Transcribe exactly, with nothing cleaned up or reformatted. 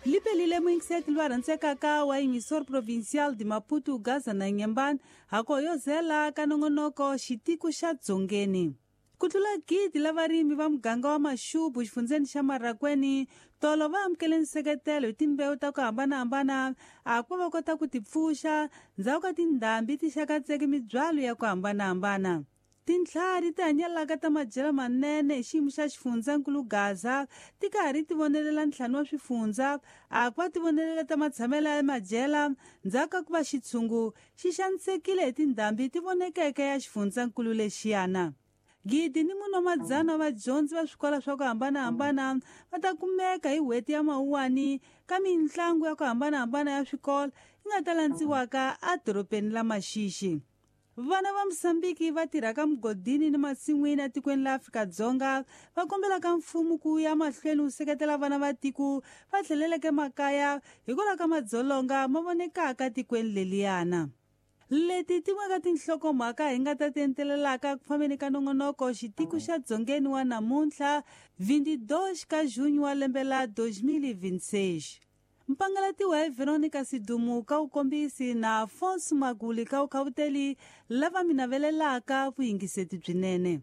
Lipelile muyingiseti lwa rhandzekaka wa Emissor Provincial de Maputo Gaza na Inhambane hako yo zela ka nongonoko xitiko xa Dzongeni. Ku tlula gidi la varimi va muganga wa Maxubu xifundzeni xa Marracuene tolo va amukele nseketelo hi timbewu ta ku hambanahambana a ku va kota ku tipfuxa ndzhaku ka tindhambi ti xakatseke mibyalo ya ku hambanahambana. Tintlhari ti hanyelaka ta madyelo manene hi xiyimo xa xifundzankulu Gaza ti karhi ti vonelela ntlhanu wa swifundza a ku va ti vonelela ta matshamelo ya madyela ndzhaku ka ku va xitshungu xi xanisekile hi tindhambi ti vonekeke ya xifundzankulu lexiyana. Gidi ni mune wa madzana wa vadyondzi va swikolo swa ku hambanahambana va ta kumeka hi n'hweti ya Mawuwani ka mitlangu ya ku hambanahambana ya swikolo yi nga ta landziwaka edorobeni la Maxixi. Vana va Mozambique va tirhaka mugodini ni masin'wini etikweni la Afrika-Dzonga va kombelaka mfumo ku ya mahlweni wu seketela vana va tiko va tlheleleke makaya hikwalaho ka madzolonga ma vonekaka tikweni leliyana. Leti tin'we ka tinhlokomhaka hi nga ta ti entelelaka ku fambeni ka nongonoko xitiko xa Dzongeni wa namuntlha vinte e dois ka junho wa lembe la dois mil e vinte e seis. Mpangalatiwa hi Veronica Sidumu ka wukombisi na Afonso Maguli ka wukhawuteli lava mi navelelaka vuyingiseti byinene.